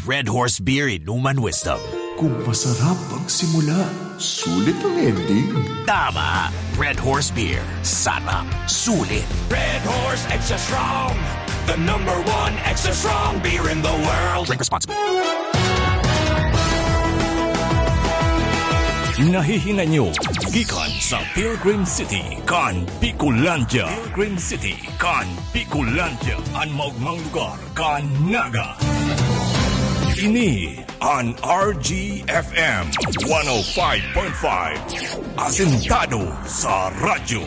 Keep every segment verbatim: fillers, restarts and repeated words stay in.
Red Horse Beer, Inuman Wisdom. Kung masarap ang simula, sulit ang ending. Tama! Red Horse Beer. Sarap. Sulit. Red Horse Extra Strong. The number one extra strong beer in the world. Drink responsibly. Nahihinay nyo gikan sa Pilgrim City, kan Bicolandia. Pilgrim City, kan Bicolandia. An maogmang lugar kan Naga. Ini an R G F M one oh five point five. Asentado sa radyo.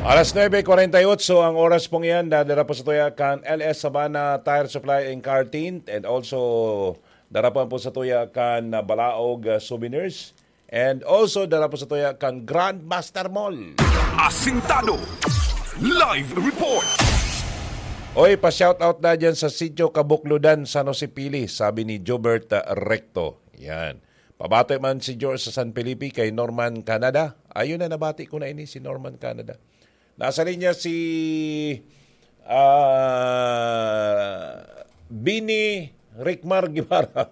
Alas nuebe cuarenta y ocho ang oras pong iyan. Dadara po sa tuya kan L S Sabana Tire Supply and Car Tint, and also dara po, po sa tuya kan, ah, Balaog, ah, Souvenirs, and also dara po sa tuya kan Grandmaster Mall. Asintado. Live report. Oy, pa-shoutout na dyan sa Sitio Kabukludan, San Jose, Pili, sabi ni Jobert, ah, Recto. Yan. Pabati man si George sa San Felipe kay Norman Canada. Ayun na, nabati ko na ini, si Norman Canada. Nasa linya si, ah, Bini Rickmar Guevara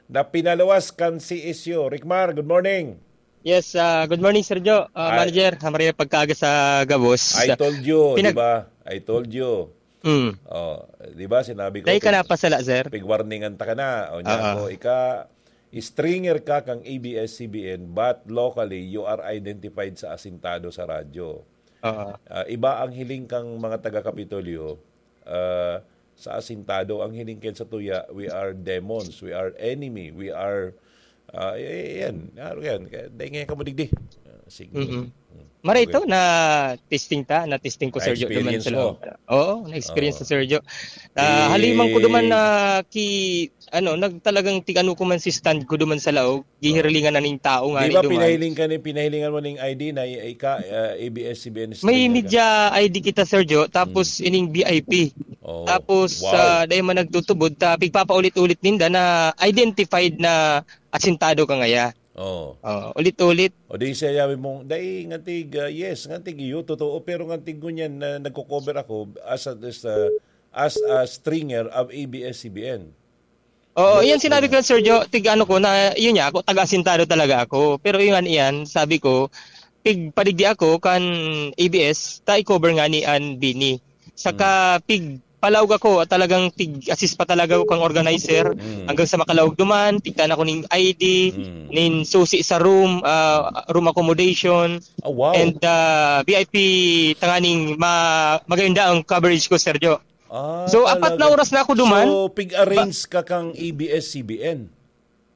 na pinaluwas kan C S U. Rickmar, good morning. Yes, ah, good morning, Sergio. Ah, Ay. Manager, ah, Maria, pagkaaga sa gabos. I told you, Pinag- di ba? I told you. Mm. Oh, di ba, sinabi ko, Dahil ka pig-, napasala, sir? pig-warningan ta ka na. O niya Oo. ako, ika, stringer ka kang A B S C B N, but locally, you are identified sa asintado sa radyo. Oo. Ah, iba ang hiling kang mga taga-Kapitolyo, ah, sa asintado. Ang hiling kan sa tuya, we are demons, we are enemy, we are, ah, eh, yan. Ano yan? Kaya, dahil ngayon ka mo digdi. Ah, sige. Mm-mm. Mm. Maray Okay. to, na testing ta, na testing ko, Sergio, duman Na-experience sa mo. loob. Oo, na-experience Oo. sa Sergio. Ah, Eh, haliman ko duman na ki-, ano, nag-, talagang tig-ano ko man si stand ko duman sa laog, Oo. gihirlingan na ning tao nga Di ni ba duman. pinahiling ka ni, pinahilingan mo ning I D na i-, ika, ah, A B S C B N May stringer ka? media I D kita, Sergio, tapos Mm. ining V I P. Oo. Tapos, Wow. ah, dahil man nagtutubod, ta, pigpapaulit-ulit ninda na identified na asintado ka ngaya. Oo. Oo, ulit-ulit. O di siya sabi mong, "Dai, ngantig, ah, yes, ngantig iyo, totoo, pero ngantig ngunyan na nagko-cover ako as a, as a, as a stringer of A B S C B N." Oo, Yes, iyan sinabi oo. ko yan, Sir Joe, tig ano ko, na yun niya, ako, taga-asintado talaga ako. Pero yun nga iyan, sabi ko, tig padigdi ako kan A B S, ta i-cover nga ni an Bini. Saka Hmm. pig palaog ako, talagang tig-assist pa talaga ako kang organizer. Hmm. Hanggang sa makalaog duman, tigtan ako ning I D, Hmm. nin susi sa room, ah, room accommodation, Ah, wow. and, ah, V I P tanganing ma-, maganda ang coverage ko, Sir Joe. Ah, So, apat na talaga. oras na ako duman. So, pig-arrange Ba- ka kang A B S C B N?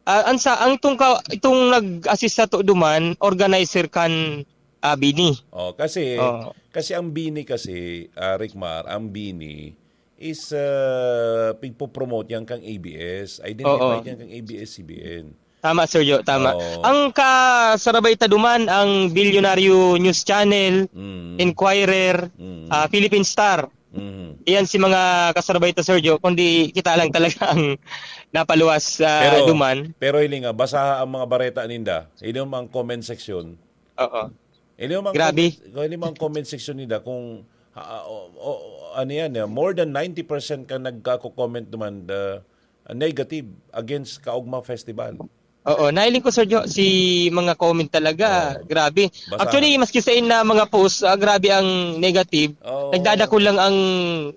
Ah, ang sa, ang itong ka-, itong nag-assist sa to duman, organizer kan, ah, Bini. Oh, kasi, Oo. kasi ang Bini kasi, ah, Rickmar, ang Bini is, ah, pigpo-promote yan kang A B S. Identified Oo. yan kang A B S C B N. Tama, Sir Joe, tama. Oo. Ang kasarabay ta duman, ang Bilyonaryo News Channel, Mm. Inquirer, Mm. ah, Philippine Star. Mhm. Iyan si mga kasarabay ta, Sir Joe, kundi kita lang talaga ang napaluwas, ah, Pero, duman. pero hiling nga, basaha ang mga bareta ninda. Hiling mo ang comment section. Oo. Hiling mo ang Grabe. comment, hiling mo ang comment section ninda kung, ah, o, o, ano yan, eh, more than ninety percent ka nagkako-comment duman, the, ah, negative against Kaugma Festival. Oo, nahiling ko, Sir Jo, si mga comment talaga, Oo. grabe. Basa. Actually, maski sa ina mga post, ah, grabe ang negative. Oo. Nagdadako lang ang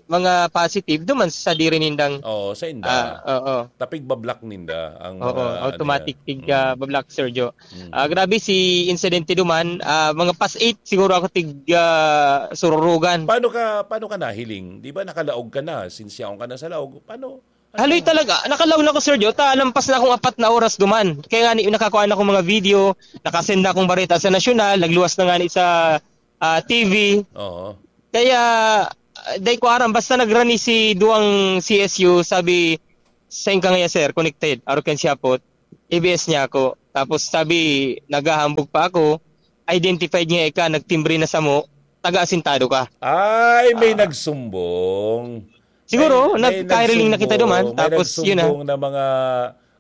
mga positive duman sa diri nindang Oo, sa inda. Ah, oo. Tapig bablock ninda ang Oo, mga, ano automatic yan. tig, Mm. ah, bablock, Sir Jo. Mm. Ah, grabe si insidente duman, ah, mga past eight siguro ako tig, ah, sururugan. Paano ka, paano ka nahiling? Di ba nakalaog ka na? Since yaon ka na sa laog, paano? Haloy talaga, nakalaog na ko, Sir Jo, ta lampas na akong apat na oras duman. Kaya nga ni, nakakuha na akong mga video, nakasend na akong bareta sa nasyonal, nagluwas na nga ni sa, ah, T V. Oo. Kaya, ah, dai ko aram, basta nagrani si duwang C S U, sabi, "Saan ka ngaya, sir? Connected." Arog kan siyapot, A B S niya ako. Tapos sabi, naghahambog pa ako, identified niya ika, nagtimbre na samo, taga-asintado ka. Ay, may Ah. nagsumbong. Siguro, May, may nagkahiriling na kita nagsumbong, duman, may tapos yun na. nagsumbong na mga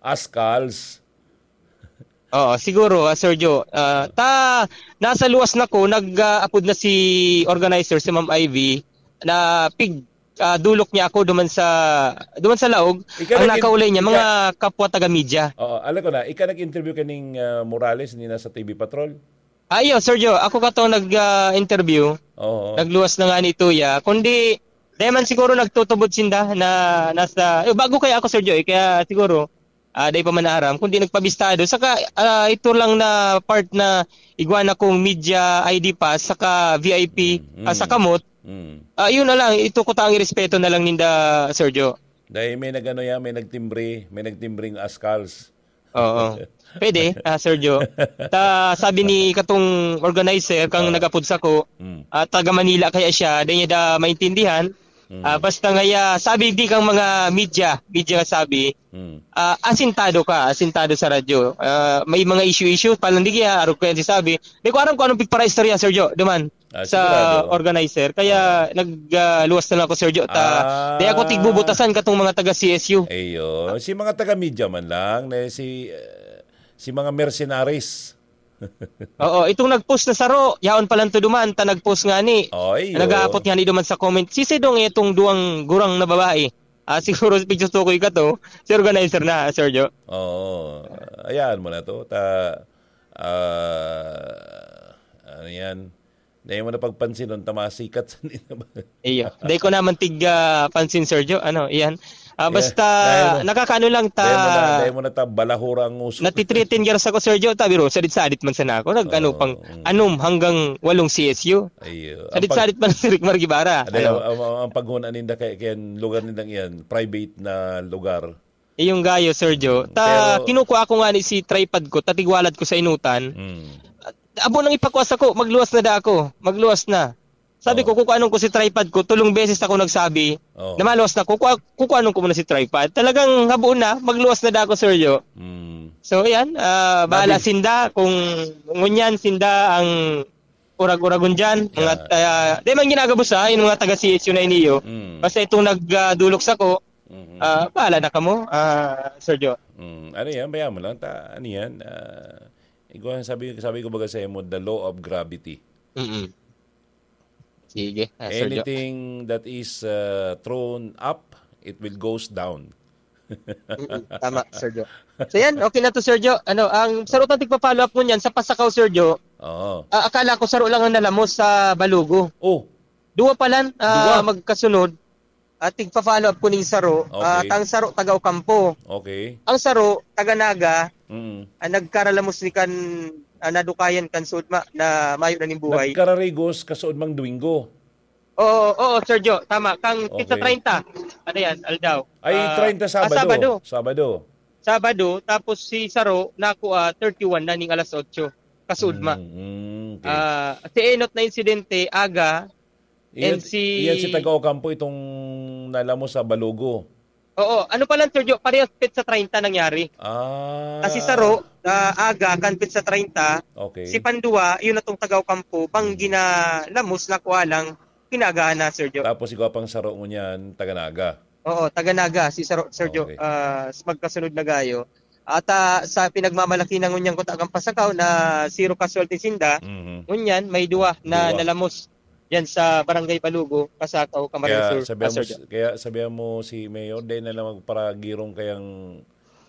askals. Oo, siguro, ah, Sir Jo. Ah, ta, nasa luwas na ko, nag, ah, apod na si organizer, si Ma'am Ivy, na pig, ah, dulok niya ako duman sa, duman sa laog. Ika Ang nag-in-, nakaulay niya, ika mga kapwa taga-media. Oo, alam ko na. Ika nag-interview kaning, ah, Morales, ni nasa T V Patrol? Ah, iyo, Sir Joe. Ako katong nag, ah, interview. Oo. Nagluwas na nga ni Tuya. Kundi, dahil man siguro nagtutubod sinda na nasa, eh, bago kaya ako, Sir Joe, eh, kaya siguro, ah, dai pa man naaram, kundi nagpabistado. Saka, ah, ito lang na part na igwa na kong media I D pass, saka V I P, Mm, ah, sa mm. kamot. Mm. Ah, yun na lang, ito ko ta ang irespeto na lang ninda, Sir Joe. Dahil may nag-ano yan, may nagtimbre, may nagtimbring askals. Oo. Pwede, ah, Sir Joe. Ta, sabi ni katong organizer, kang Ah. nagapod sako, Mm. ah, taga Manila kaya siya, dai niya da maintindihan. Mm. Ah, basta ngaya, sabi di kang mga media, media nga sabi, Mm. ah, asintado ka, asintado sa radyo. Ah, may mga issue-issue, palandigia, arog ko yan si sabi. Di ko aram kung anong pigpara-istorya, Sir Joe, duman Ah, sa sigurado. organizer. Kaya Ah. nag, ah, luwas na lang ako, Sir Joe. Ta, Ah. di ako tigbubutasan katong mga taga C S U. Iyo. Si mga taga-media man lang, na si, eh, si mga mercenaries. Oo, itong nag-post na saro, yaon pa lang to duman, ta nag-post nga ni. Ay, oo. Nag-aapot nga ni duman sa comment. Si Sidong itong duwang gurang na babae. Ah, siguro picture to ko ikato, si organizer na, Sir Joe. Oo. Ayaan mo na to. Ta, ah, ano yan? Dai mo na pagpansinon ta masikat sa nila ba? Iyo. Dai ko naman tig, ah, pansin, Sir Joe. Ano, iyan. Ah, Yeah. basta Dai mo, nakakaano lang ta dai mo na, dai mo na ta balahura ang uso. Natitreaten gyud sa ko, Sir Joe. Ta, biro, sadit-sadit man sana ako. Nag-ano Oo, pang, mm. anom hanggang walong C S U. Iyo. Ang pag- Sadit-sadit man si Rick Mar Guevara. Dai, Ano? ang, ang, ang paghuna ninda kay, kay lugar nindang iyan, private na lugar. Iyong gayo, Sir Joe. Ta, Pero kinukuha ko nga ni si tripod ko, tatigwalad ko sa inutan. Mm. Abo nang ipakwa sako, magluwas na da ako. Magluwas na. Sabi Oh. ko, kukuanon ko si tripod ko, tulong beses ako nagsabi, Oh. na maluwas na, kukua-, kukuanon ko muna si tripod. Talagang habo na, magluwas na da ako, Sir Joe. Mm. So, yan. Ah, bahala David. sinda kung ngunyan sinda ang urag-uragon dyan. Mga, Yeah. ah, di man ginagabos, ha, yung mga taga C S U na iniyo. Mm. Basta itong nag, ah, dulok sako, Mhm. ah, bahala na kamo, ah, Sir Joe. Mm. Ano yan? Bayaan mo lang. Ta, ano yan? Ah, ikaw ang sabi, sabi ko baga sa imo, the law of gravity. Mm-mm. Sige, ah, Sir Joe. Anything that is, uh, thrown up, it will goes down. Mm-mm, tama, Sir Joe. So yan, okay na to, Sir Joe. Ano, ang sarutang tigpa-follow up ngunyan sa pasakaw, Sir Joe. Oo. Ah, akala ko saro lang ang nalamos sa Balugo. Oh. Duwa palan, ah, Duwa? magkasunod. At tigpa-follow up ko ning saro, ah, Okay. tang saro taga Ocampo. Okay. Ang saro taga Naga, Mm. ah, nagkaralamos ni kan, ah, nadukayan kan sudma na mayo na ning buhay. Nagkararigos kasuod mang Domingo. Oo, oo, Sir Joe, tama. Kang pizza Okay. treinta. Ano yan? Aldaw. Ay, Ah, treinta ah, Sabado. Sabado. Sabado. Sabado, tapos si Saro, naku, ah, thirty-one na ning alas otso. Kasudma. Mm, mm, okay. Ah, si Enot na insidente, aga, Iyan, and si iyan si taga Ocampo, itong nalamo sa Balugo. Oo, ano pa lang, Sir Joe, parehas pizza treinta nangyari. Ah. Kasi Saro, ah, aga, kan pizza treinta, Okay. si Pandua, yun na tong taga Ocampo, bang Mm. ginalamos na kuha lang, kinaagahan na, Sir Joe. Tapos ikaw pang saro ngunyan, taga Naga. Oo, taga Naga, si Saro-, Sir Joe, Okay. ah, s-, magkasunod na gayo. At, ah, sa pinagmamalaki na ngunyan kuta kang pasakaw na zero casualty sinda, Mhm. ngunyan may duwa na Duwa. nalamos yan sa Barangay Balugo, Pasakaw, Camarines Kaya Sur, sabihan ah, mo Sir s-, Joe. kaya sabihan mo si Mayor, dai na lang magparagirong kayang,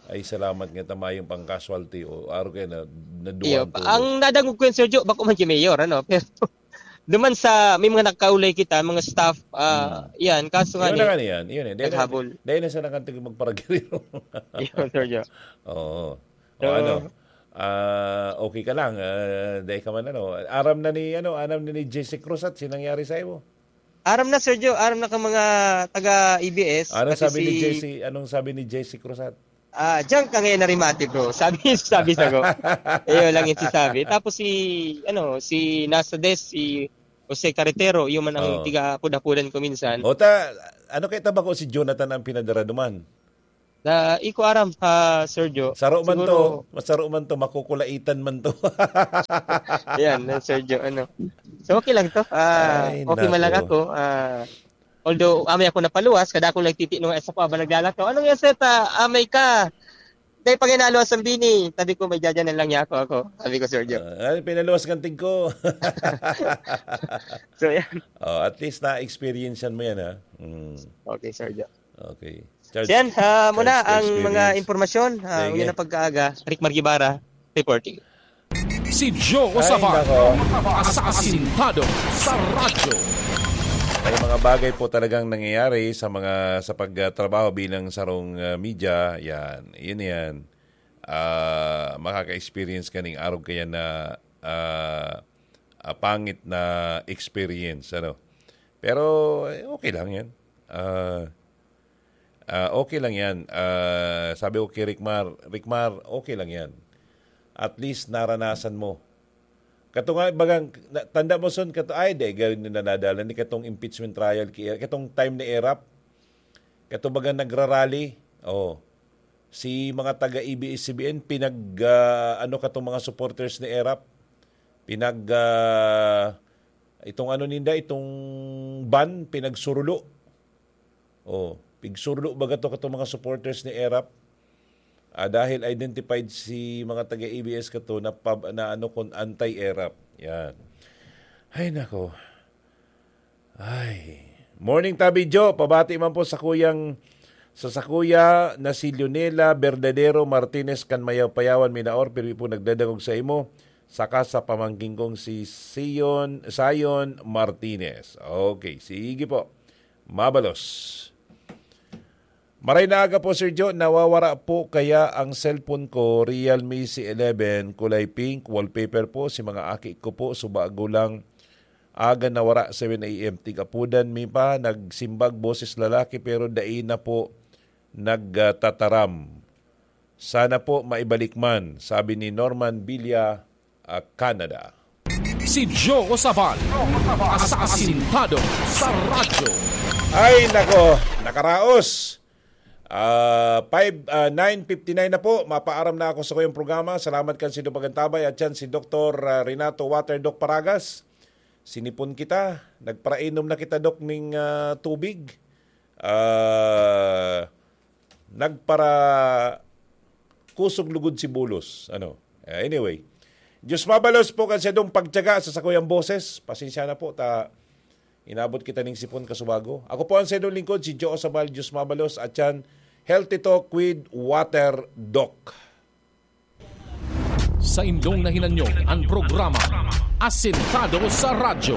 "Ay, salamat nga ta mayong pang-casualty," o aro kaya na, naduwa Iyo, ang pa, tubod. ang nadangog ko yan, Sir Joe, bako man si Mayor, ano, pero duman sa, may mga nakaulay kita, mga staff, ah, Hmm. yan, kaso nga Yun na ni, nga niyan, yun eh. Dahil na, naghabol. dahil na sa nakantog magparagirong. Yun, Sir Joe. Oo. O So, ano, ah, okay ka lang, ah, dahil ka man ano, aram na ni, ano, aram na ni Jesse Cruz at sinangyari sa iyo. Aram na, Sir Joe, aram na ka mga taga A B S, Anong pati sabi ni si Jesse, anong sabi ni Jesse Cruz at? Ah, diyan ka ngayon narimati, bro. Sabi, sabi sa ko. Iyo lang yung sisabi. Tapos si, ano, si nasa desk, si Jose Carretero, yung man ang Oo. tiga-apod-apodan ko minsan. O ta, ano kay tabako si Jonathan ang pinadara duman? Na, iko aram, ah, Sir Joe. Saro man Siguro to, masaro man to, makukulaitan man to. Yan, na Sir Joe, ano. So, okay lang to. Ah, Ay, okay man lang nako. ako. Ah, although, amay ako napaluwas, kada ako nagtitino nga sa ko, habang naglalakaw, "Anong yan, Sir? Ta, amay ka?" Dahil pag inaluwas ang bini, sabi ko, "May jajanan lang niya ako, ako." Sabi ko, Sir Joe. Ah, ay, pinaluwas ng tig ko. So, yan. Oh, at least na-experience mo yan, ha? Mm. Okay, Sir Joe. Okay. Charge, So, yan, ah, muna charge to ang mga experience. impormasyon. Ah, Sige. Ngayon na pagkaaga, Rick Margibara, reporting. Si Joe Ay, Osaval, nako. Asasintado sa radyo. May mga bagay po talagang nangyayari sa mga, sa pagtrabaho bilang sarong, ah, media. Yan. Yun yan. Ah, makaka-experience ka ning arog kaya na, ah, ah, pangit na experience, ano. Pero, eh, okay lang yan. Ah, ah, okay lang yan. Ah, sabi ko kay Rickmar, "Rickmar, okay lang yan. At least naranasan mo." Kato nga, bagang, na-, tanda mo son, kato, ay, di, ganun na nadala ni katong impeachment trial, ki-, katong time ni Erap, kato bagang nagrarally, oh, si mga taga A B S C B N, pinag, ah, ano katong mga supporters ni Erap, pinag, ah, itong ano ninda, itong ban, pinagsurulo. Oh, pigsurulo baga to katong mga supporters ni Erap. Ah, dahil identified si mga taga A B S kato na pab-, na ano kun anti-Erap. Yan. Ay, nako. Ay. Morning, Tabi Jo. Pabati man po sa kuyang, sa, sa kuya na si Leonela Verdadero Martinez kan Mayaw-Payawan, Minaor. Pirmi po nagdadangog sa imo. Saka sa pamangkin kong si Sion, Sion Martinez. Okay, sige po. Mabalos. Maray na aga po, Sir Jo. Nawawara po kaya ang cellphone ko, Realme C eleven, kulay pink, wallpaper po. Si mga aki ko po, subago lang aga nawara, seven a m. Tigapudan mi pa, nagsimbag boses lalaki, pero dai na po nagtataram. Sana po maibalik man, sabi ni Norman Villa, ah, Canada. Si Joe Osaval, asasintado sa radyo. Ay, nako, nakaraos. Ah, five, ah, nine fifty-nine na po. Mapaaram na ako sa kuyang programa. Salamat kan Sido Pagantabay at yan si Doktor, ah, Renato Water Doc Paragas. Sinipon kita. Nagparainom na kita, Doc, ning, ah, tubig. Ah, nagpara kusog lugod si bulos. Ano? Eh, anyway. Diyos mabalos po kan sadong pagtiyaga sa sakuyang boses. Pasensya na po, ta inabot kita ning sipon kasubago. Ako po ang sadong lingkod, si Joe Sabal, Diyos mabalos, at yan, Healthy Talk with Water Doc. Sa indong nahinanyog ang programa Asentado sa Radyo.